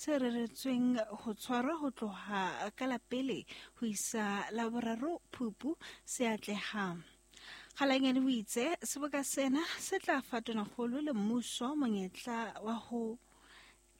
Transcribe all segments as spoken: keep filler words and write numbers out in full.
se reretsweng ho tshwarwa ho tloha ka la pele ho isa la boraro Phupu se atleha. Kgalanyane o itse seboka sena se tla fa Tonakgolo le mmuso monyetla wa ho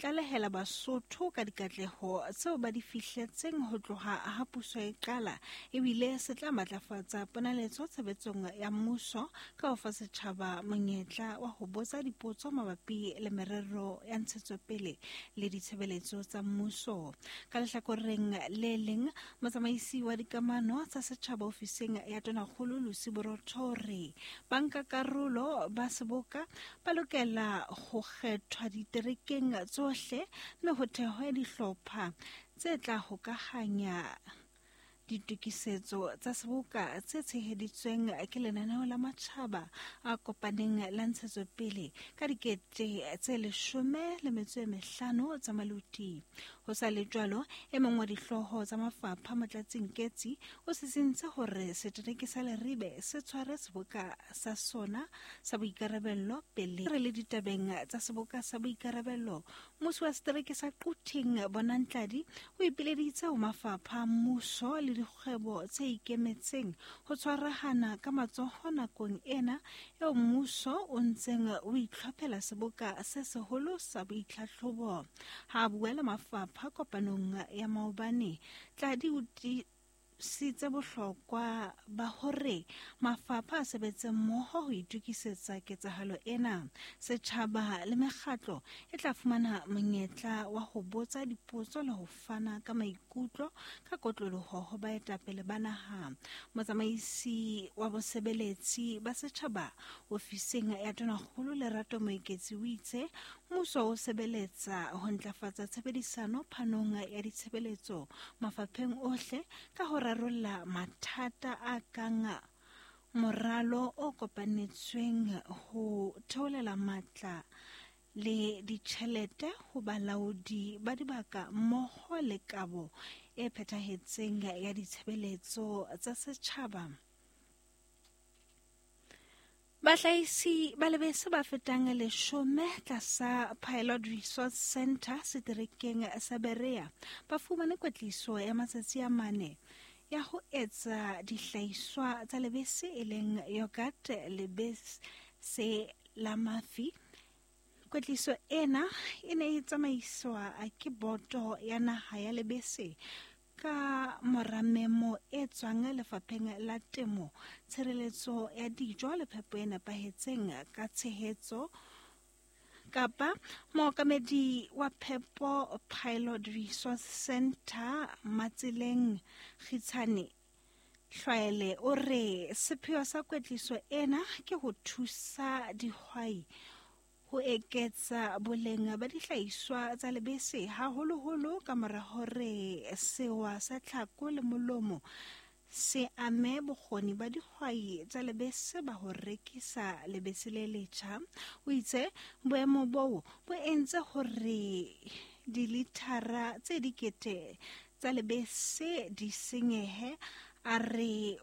tlalehela Basotho ka dikatleho tseo ba di fihletseng ho tloha ha puso e qala, ebile se tla matlafatsa ponaletso tshebetsong ya mmuso ka ho fa setjhaba monyetla wa ho botsa dipotso mabapi le merero ya ntshetsopele le ditshebeletso tsa mmuso. Ka lehlakoreng le leng, motsamaisi wa dikamano tsa setjhaba ofising ya Tonakgolo Lucy Borotho o re bankakarolo ba seboka ba lokela ho kgethwa diterekeng tsohle mme ho thehwe dihlopha tse tla hokahanya ditokisetso tsa seboka tse tsheheditsweng ke lenaneo la matjhaba a kopaneng la ntshetsopele ka dikete tse leshome le metso e mehlano tsa maluti. Ho sa le jwalo, e mong wa dihlooho tsa mafapha Motlatsi Nketsi o sisintse hore setereke sa Leribe se tshware seboka sa sona sa boikarabello pele. Re le ditabeng tsa seboka sa boikarabello, mmusi wa setereke sa Quthing Bonang Tladi o ipileditse ho mafapha a mmuso le dikgwebo tse ikemetseng ho tshwarahana ka matsoho nakong ena eo mmuso o ntseng o itlhophela seboka se seholo sa boitlhatlhobo. Ha a bua le mafapha kopanong ya maobane, Tladi o tiisitse bohlokwa ba hore mafapha a sebetse mmoho ho itokisetsa ketsahalo ena. Setjhaba le mekgatlo e tla fumana monyetla wa ho botsa dipotso le ho fana ka maikutlo ka kotloloho ho baetapele ba naha. Motsamaisi wa bosebeletsi ba setjhaba ofising ya Tonakgolo Lerato Moeketsi o itse mmuso o sebeletsa ho ntlafatsa tshebedisano phanong ya ditshebeletso mafapheng ohle ka ho rarolla mathata a kang moralo o kopanetsweng ho theolela matla le ditjhelete ho balaodi ba dibaka mmoho le kabo e phethahetseng ya ditshebeletso tsa setjhaba. Bahlahisi ba lebese ba fetang leshome tlasa Pilot Resource Center seterekeng sa Berea ba fumane kwetliso ya matsatsi a mane ya ho etsa dihlahiswa tsa lebese e leng yogurt, lebese la mafi. Kwetliso ena e ne e tsamaiswa ke boto ya naha ya lebese ka mora memo e tswang lefapheng la temo, tshireletso ya dijo le phepo e nepahetseng ka tshehetso kapa mookamedi wa phepo Pilot Resource Center Matseleng Kgitshane Hlwaele o re sepheo sa kwetliso ena ke ho thusa dihwai ho eketsa boleng ba dihlahiswa tsa lebese haholoholo ka mora hore sewa sa tlhako le molomo se ame bokgoni ba dihwai tsa lebese ba ho rekisa lebese le letjha. O itse boemo boo bo entse hore dilithara tse dikete tsa lebese di senyehe. A re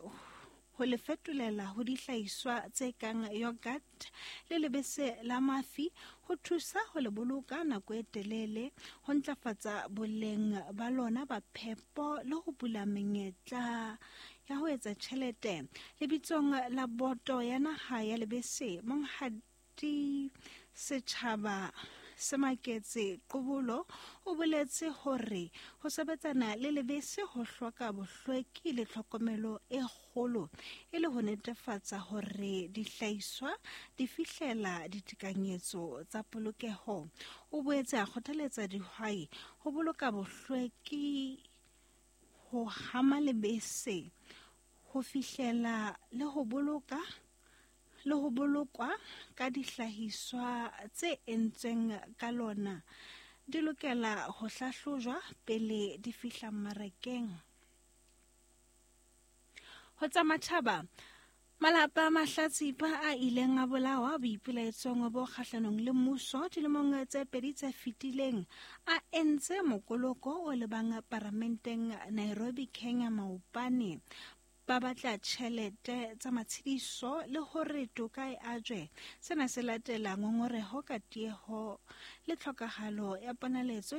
ho le fetolela ho dihlahiswa tse kang yogurt le lebese la mafi ho thusa ho le boloka nako e telele, ho ntlafatsa boleng ba lona ba phepo le ho bula menyetla ya ho etsa tjhelete. Lebitsong la boto ya naha ya lebese, Monghadi Setjhaba Semaketse Qobolo o boletse hore ho sebetsana le lebese ho hloka bohlweki le tlhokomelo e kgolo e le ho netefatsa hore dihlahiswa di fihlela ditekanyetso tsa polokeho. O boetse a kgothaletsa dihwai ho boloka bohlweki, ho hama lebese ho fihlela le ho boloka le ho bolokwa ka dihlahiswa tse entsweng ka lona di lokela ho hlahlojwa pele di fihla mmarakeng. Ho tsa matjhaba, malapa a mahlatsipa a ileng a bolawa boipelaetsong bo kgahlanong le mmuso dilemong tse pedi tse fetileng a entse mokoloko o lebang paramenteng Nairobi, Kenya maobane. Ba batla tjhelete tsa matshediso le hore toka e ajwe. Sena se latela ngongoreho ka tieho le tlhokahalo ya ponaletso